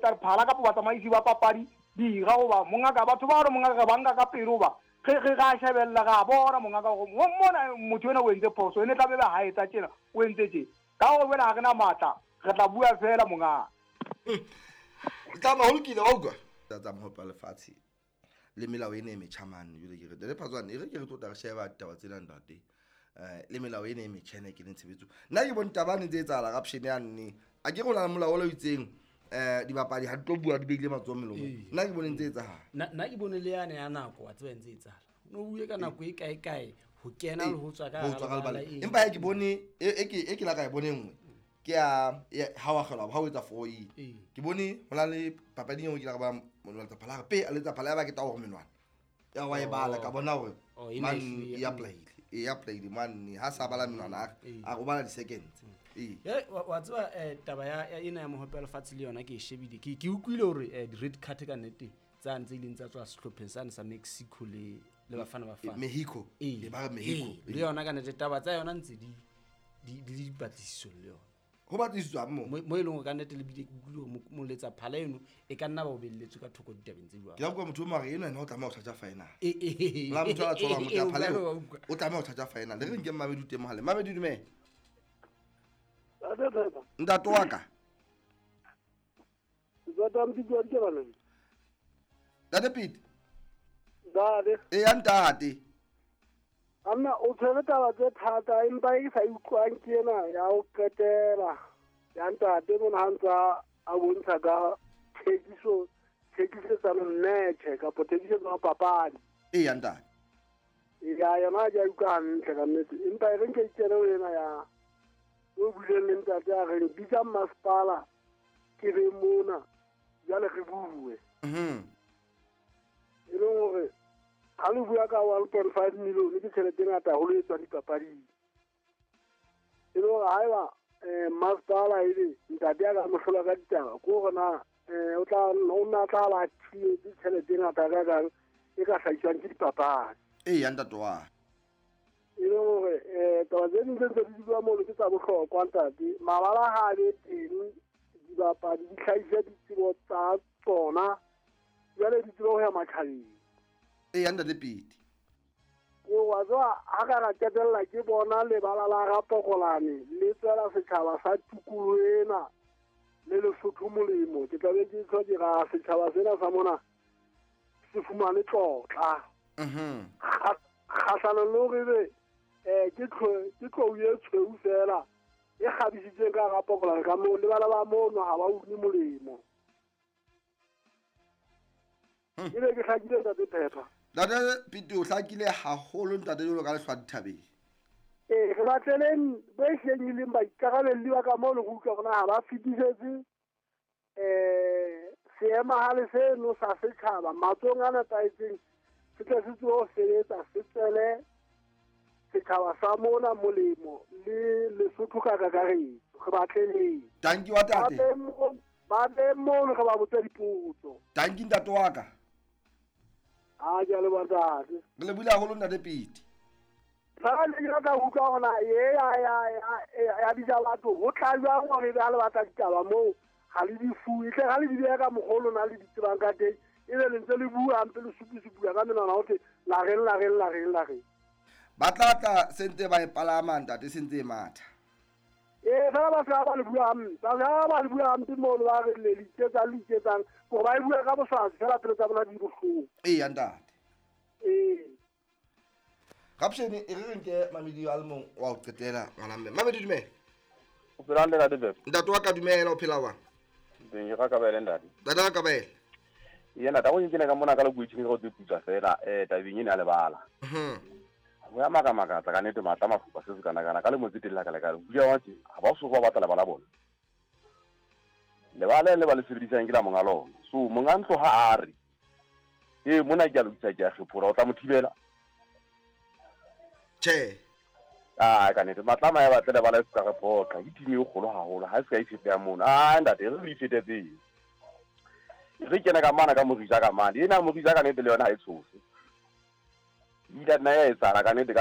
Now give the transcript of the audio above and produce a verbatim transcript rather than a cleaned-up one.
Tsa phala kapa batsamaisi ba papadi dira goba mongaka batho ba re mongaka ba nka ka pelo ba ge ge ga shebella ga bona mongaka go mona motho ena o entse phoso ene tla be ba ha etsa tjena o entse tje ka go wena ha re na matla re tla bua fela mongaka tla ma holokile wa utlwa tsa mohope wa lefatshe le melao ena e metjha mane jwale ke re le Phatswane e re ke re tlo tla re sheba ditaba tsena ntate eh le melao ena e metjha ena e keneng tshebetso nna ke bone taba ne ntse etsahala corruption ya nne a ke rona molao o lo itseng eh dibapadi ha di tlo bua di beile matsoho melomong nna ke bone ntse etsahala nna nna ke bone le yane ya nako wa tseba ntse etsahala no bue ka nako e kae kae ho kena le ho tswa ka ho tswa ka lebala empa ha ke bone e ke e ke la ka e bone nngwe ke ya ha wa kgelwa ha o etsa four e ke bone ho na le papadi engwe ke la ba moletsa phala pe a letsa phala ya ba ke tawo menwana ya wa e bala ka bona hore man ya play e ya play man ha sa bala menwana a go bala di seconds e wa tseba taba ya ena ya mohope wa lefatshe le yona ke e shebile ke ke utlwile hore di red card ka nnete tsa ntse ileng tsa tswa sehlopheng sane sa Mexico le le Bafana Bafana Mexico le ba Mexico le yona ka nnete taba tsa yona ntse di di di dipatlisiso le yona ho batliswa mo mo e leng hore ka nnete le bile ke utlwile hore moletsa phala eno e ka nna ba o belletswe ka thoko ditabeng tse jwalo ke la bua motho o mare eno ena o tlameha ho charge final e e la motho a tswang motho phala eno o tlameha ho charge final le re nke Mamedi teng mohale Mamedi dumela ntate wa ka Ntate Pete Ntate e ya ntate Anna o tshwere taba tse thata empa e sa utlwang ke ena ya ho qetela ya ntate mona ha ntsa a bontsha ka thekiso thekisetsano mmetjhe kapa thekisetsano papadi e ya ntate ya yona ke a utlwa hantle ka nnete empa e re nke ikene ho ena ya o buileng le ntate a reng bitsa masepala ke be mona jwale re bue e leng hore ha le bua ka one point five million ke tjhelete e ngata haholo e tswang dipapading e le hore haeba masepala ebe ntate a ka mo hlola ka ditaba ke hore na o tla o nna tla ba thietse tjhelete e ngata ka kang e ka hlahiswang ke dipapadi e ya ntate wa e le hore taba tse ding tse ntse di bua mono ke tsa bohlokwa ntate mabala ha a be teng dibapadi di hlahise ditsebo tsa tsona jwale di tsebe ho ya matjhabeng e ya ntate Pete o wa tswa ha ka ra qetella ke bona lebala la Rapokolane le tswela setjhaba sa tikoloho ena le Lesotho molemo ke tla be ke tlo dira setjhaba sena sa mona se fumane tlotla mhm kgahlanong le hore ebe eh ke ke tlou e tshweu fela e kgabisitseng ka Rapokolane ka moo lebala ba mono ha ba une molemo e be ke hlakile ntate Phepha Ntate Pete o hlakile haholo ntate jwalo ka lehlwa dithabeng ee re batleleng bo e hleng e leng baikarabelli ba ka moo le go utlwa rona ha ba fetisetse um seemahale seno sa setjhaba matsohong a nepahetseng se tle se tsebe ho sebetsa se tswele setjhaba sa mona molemo le Lesotho ka kakaretso re batleleng Danki wa tate ba be mono re ba botse dipotso Danki ntate wa ka a ke a leboha ntate re lebohile haholo ntate Pete fela le ke rata ho utlwa hore na e ya ya ya bitsa batho ho tla jwang hore ebe ha le batla ditaba moo ha le di fuwe tle ha le di beha ka mokgwa o lona le di tsebang ka teng ebe le ntse le bua hampe le supusupuwa ka menwana ho thwe la reng la reng la reng la reng ba tla tla sentse ba e palama ntate sentse e matha ee fela ba se ba le bua hampe ba se ba le bua hampe mono ba re le iketsang le iketsang gore ba e bua ka boswaswi fela pelo tsa bona di bohloko ee ya ntate ee Rapshene e re re nke Mamedi a le mong wa ho qetela ngwana mme Mamedi dumela o phela hantle ntate Pepe ntate wa ka dumela o phela jwang teng ke Rakabele ntate ntate Rakabele yena ntate o nkene ka mona ka le go tse fela eh tabeng ena ya lebala ho ya makamakatsa ka nnete matla mafupa se se kana kana ka le motse teng la ka le ka bua wa tse ha ba so ba batla lebala bona lebala le ba le sebedisang ke la monga lona so monga ntlo ha a re e mona ke a lokisa ke a kgephora o tla mo thibela tjhe ah ka nnete matla ma ya batle lebala se ka re phoqa ke team e kgolo haholo ha se ka ifete ya mona ah ntate re le ifetetseng re kena ka mana ka morija ka mane ena morija ka nnete le yona ha e tshose ila nna ya etsahala ka nnete ka